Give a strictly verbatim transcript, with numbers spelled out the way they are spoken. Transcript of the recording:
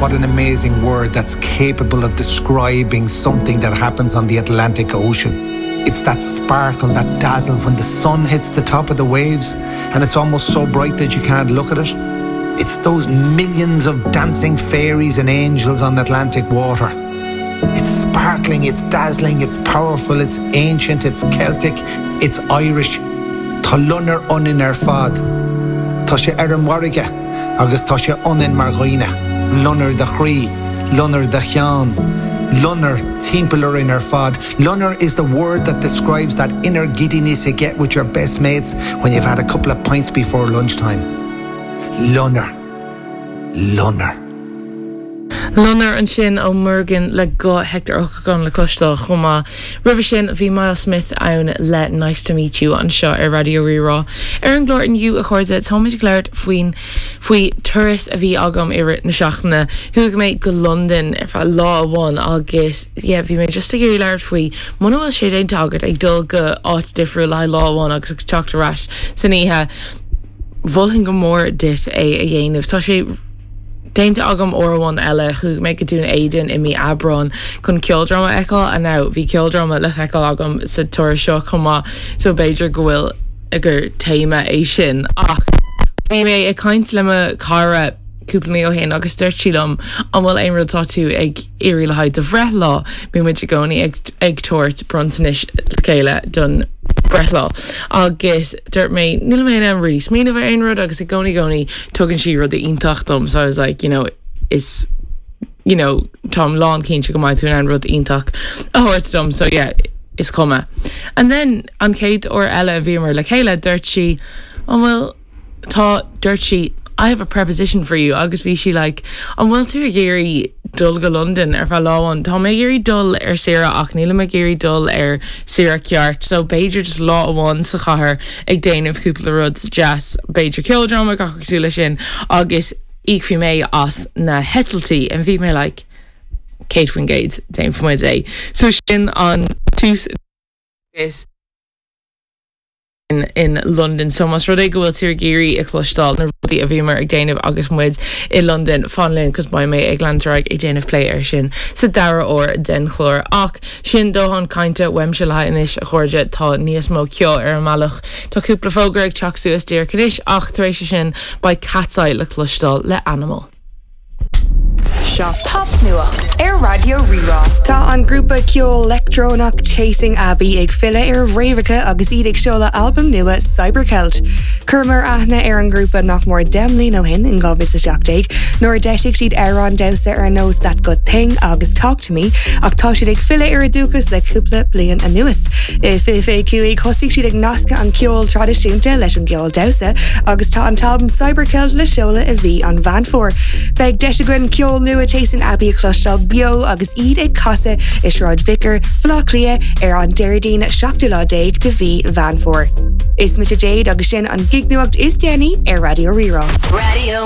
What an amazing word that's capable of describing something that happens on the Atlantic Ocean. It's that sparkle, that dazzle when the sun hits the top of the waves and it's almost so bright that you can't look at it. It's those millions of dancing fairies and angels on Atlantic water. It's sparkling, it's dazzling, it's powerful, it's ancient, it's Celtic, it's Irish. Tá loinnir ionainn ar fad. Tá sé ar an bhfarraige agus tá sé ionainn mar dhaoine, Loinnir do chroí, loinnir do cheann, Loinnir timpeall orainn ar fad. Loinnir is the word that describes that inner giddiness you get with your best mates when you've had a couple of pints before lunchtime. Loinnir. Loinnir. Loinnir ansin ó Muirgen le go Hector Ó Cagáin le cloisteáil chomh maith. Roimhe sin bhí Myles Smith ann le nice to meet you anseo ar Raidió Rí-Rá. Ar an gclár inniu a chairde táimid ag labhairt faoin faoi turas a bhí agam i rith na seachtaine. Chuaigh mé go London ar feadh lá amháin agus yeah, bhí mé just ag iarraidh labhairt faoi muna bhfuil sé déanta agat ag dul go áit difriúil le lá amháin agus ag teacht ar ais san oíche. Mholfainn go mór duit é a dhéanamh. Tá sé Déanta agam uair amháin eile chuaigh mé go Dún Éideann i mí Aibreáin chun ceoldráma a fheiceáil and now bhí ceoldráma le feiceáil agam sa turas seo chomh maith so b'fhéidir go bhfuil gur téama é sin ach bhí mé ag caint le mo chara cúpla mí ó shin agus dúirt sí liom an bhfuil aon rud atá tú ag iarraidh le haghaidh do bhreithlá bímid i gcónaí ag ag tabhairt bronntanais le chéile don breithlá agus dúirt mé níl mé an rí smaoineamh ar aon rud agus i gcónaí gcónaí tugann sí rud iontach dom so I was like you know is you know Táim lánchinnte go mbeidh tú an rud iontach a thabhairt dom so yeah is cuma. And then an chéad uair eile a bhíomar le chéile dúirt sí an bhfuil tá dúirt sí I have a preposition for you agus bhí sí like an bhfuil tú ag iarraidh dul go London ar feadh lá amháin Tá mé ag iarraidh dul ar saoire ach níl mé ag iarraidh dul ar saoire ceart so b'fhéidir just lá amháin sa chathair ag déanamh cúpla rud deas b'fhéidir ceoldráma gach cosúil leis sin agus íocfaidh mé as na heitiltí and bhí mé like céad faoin gcéad déanfaimid é. So sin an tús is in, in London. So más rud é go bhfuil tú ag iarraidh a chloisteáil na rudaí a bhíomar ag déanamh agus muid i London fan linn cos beidh mé ag leanúint ag déanamh plé ar sin sa dara huair den chlár ach sin dóthain cainte uaimse le anois a chairde tá níos mó ceoil ar an mbealach Tá cúpla fógra ag teacht suas díreach anois ach tar éis sin beidh Katseye le cloisteáil le Animal. Seo popnuacht ar Raidió Rí-Rá. Tá an grúpa ceol leictreonach Chasing Abbey ag filleadh ar fhréamhacha agus iad ag seoladh albam nua Cybercelt. Chuireamar aithne ar an grúpa nach mór deich mbliana ó shin in dhá mhíle seacht déag, nuair a d'eisigh siad amhráin damhsa ar nós That Good Thing agus Talk to Me ach tá siad ag filleadh ar a dúchas le cúpla bliain anuas. I fiche fiche cúig thosaigh siad ag nascadh an ceol traidisiúnta leis an gceol damhsa agus tá an t-albam Cybercelt le seoladh i mhí an Mheán Fómhair. Beidh deis againn ceol nua Chasing Abbey a chloisteáil beo agus iad ag casadh i Sráid Vicar Bhaile Átha Cliath ar an Déardaoin seachtú lá déag de mhí Mheán Fómhair. Is mise Jade agus sin an gignuacht is déanaí ar Raidió Rí-Rá. Radio